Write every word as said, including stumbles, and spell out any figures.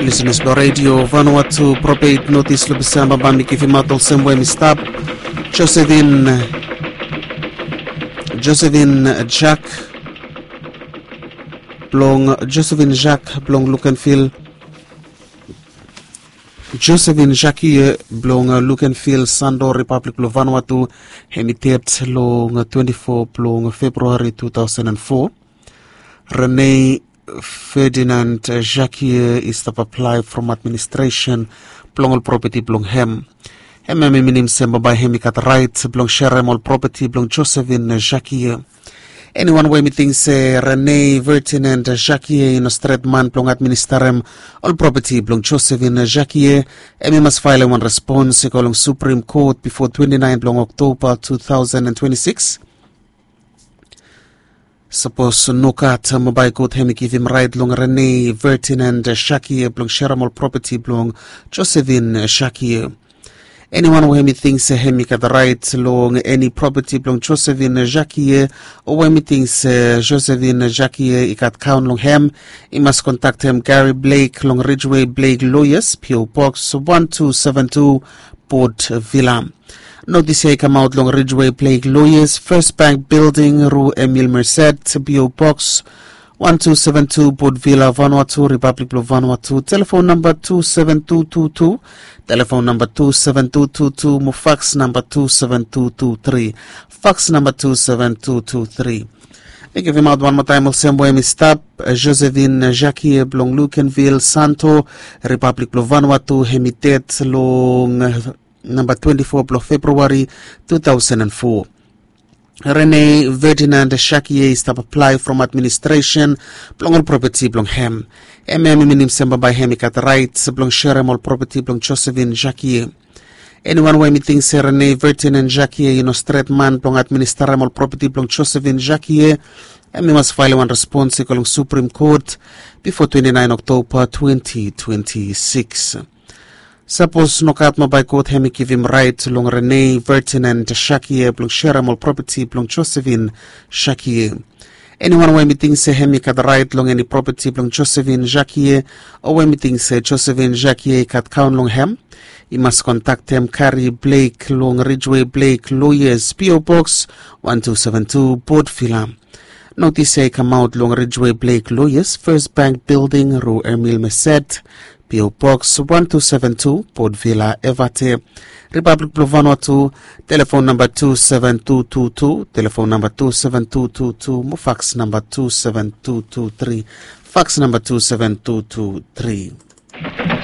Lisenas blong redio Vanuatu, propet notis long Disemba bae mi givimaot olsem we mi stap. Josephine, Josephine Jack, blong Josephine Jack blong Lukenville. Josephine Jackie blong Lukenville Sando, Ripablik blong Vanuatu, hem i ded long twenti fo blong Februari tu taosen an fo. Rene Ferdinand Jackie i stap aplae from administresen blong ol propeti blong hem. Hem hem i minim se bambae hem i gat raet blong serem ol propeti blong Josephine Jackie. Eniwan we hem i ting se Rene Ferdinand Jackie i no stret man blong administarem ol propeti blong Josephine Jackie, hem i mas faelem wan respons i go long Supreme Court bifo twenti naen blong Oktoba tu taosen an twenti sikis. Sapos nogat, bambae kot hem i givim raet long Rene Ferdinand Jackie blong serem ol propeti blong Josephine Jackie. Eniwan we hem i ting se hem i gat raet long eni propeti blong Josephine Jackie, o we hem i ting se Josephine Jackie i gat kaon long hem, i mas kontaktem Gary Blake long Ridgeway Blake Lawyers, P O Box wan tu seven tu, Port Vila. Notis ya i kamaot long Ridgeway Blake Lawyers, First Bank Building, Rue Emile Merced, P O Box wan tu seven tu, Port Vila, Vanuatu, Ripablik blong Vanuatu. Telefon namba tu seven tu tu tu, telefon namba tu seven tu tu tu, mo faks namba tu seven tu tu tri, faks namba tu seven tu tu tri. Mi givimaot wan moa taem olsem we hem i stap, Josephine Jackie blong Lukenville Santo, Ripablik blong Vanuatu, hem i ded long namba twenti fo blong Februari tu taosen an fo. Rene Ferdinand Jackie i stap aplae from administresen blong ol propeti blong hem. Hem hem i minim se bambae hem i gat raet blong serem ol propeti blong Josephine Jackie. Eniwan we hem i ting se Rene Ferdinand Jackie i no stret man blong administarem ol propeti blong Josephine Jackie, hem i mas faelem wan respons i go long Supreme Court bifo twenti naen Oktoba twenti twenti sikis. Sapos nogat, bambae kot hem i givim raet long Rene Ferdinand Jackie blong serem ol propeti blong Josephine Jackie. Eniwan we hem i ting se hem i gat raet long eni propeti blong Josephine Jackie, o we hem i ting se Josephine Jackie i gat kaon long hem, i mas kontaktem Gary Blake long Ridgeway Blake Lawyers, P O Box wan tu seven tu, Port Vila. Notis ya i kamaot long Ridgeway Blake Lawyers, First Bank Building, Rue Emile Merced, P O Box wan tu seven tu, Port Vila, Evate, Ripablik blong Vanuatu. Telefon namba tu seven tu tu tu, telefon namba tu seven tu tu tu, mo faks namba tu seven tu tu tri, faks namba tu seven tu tu tri.